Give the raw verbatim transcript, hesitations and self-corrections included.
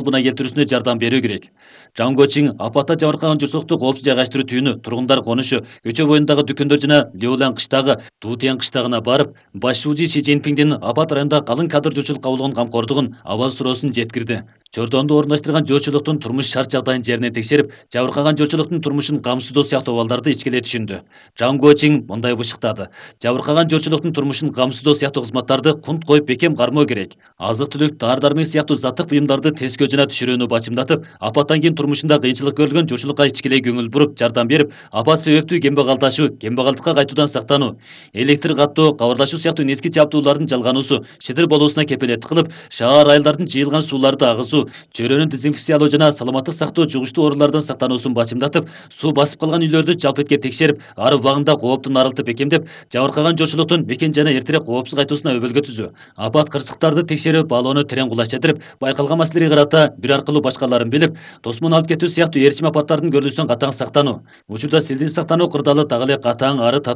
калыбына келтирүүсүнө жардам берүү керек. Жангочиң апатта жабыркаган журтчулукту коопсуз жайгаштыруу түйүнү тургундар конушу, көчө боюндагы дүкөндөр жана Леолан кыштагы Дутен кыштагына барып, баш шуужу Си Цзиньпиңдин апат районунда калың кадр журтчулукка болгон камкордугун, абал суроосун жеткирди. Чордонду орундаштырган журтчулуктун турмуш шарт жагдайын жерине текшерип, жабыркаган журтчулуктун турмушун камсыздоо сыяктуу абалдарды ичкилей түшүндү. Жангочиң мындай бышыктады: жабыркаган журтчулуктун турмушун камсыздоо сыяктуу кызматтарды кунт коюп бекем кармоо керек. Азык-түлүк, дары-дармек сыяктуу заттык буюмдарды тескөө жана түшүрүүнү бачымдатып, апаттан кийин турмушунда кыйынчылык көрүлгөн журтчулукка ичкилей көңүл буруп, жардам берип, апат себептүү кембагалдашуу, кембагалдыкка кайтуудан сактануу, электр каттоо, кабарлашуу сыяктуу незги жабдуулардын жалгануусу, шидир болуусуна кепилеттик кылып, шаар айылдардын жыйылган сууларды агызуу, чөйрөнү дезинфекциялоо жана саламаттык сактоо жугуштуу оорулардан сактануусун бачымдатып, суу басып калган үйлөрдү жалпы этке текшерип, ар убагында кооптун арылтып бекемдеп, жабыркаган журтчулуктун мекен жайына эртерээк коопсуз кайтуусуна өбөлгө түзүү, апат кырсыктарды текшерип, баалоону терең кулаш этирип, байкалган маселеге карата бир аркылуу башкаларын билип, тосмон алып кетүү сыяктуу ээрчим апаттардын көрүлүүсүнөн катаң сактануу. Учурда силдин сактануу кырдаалы так эле катаң ары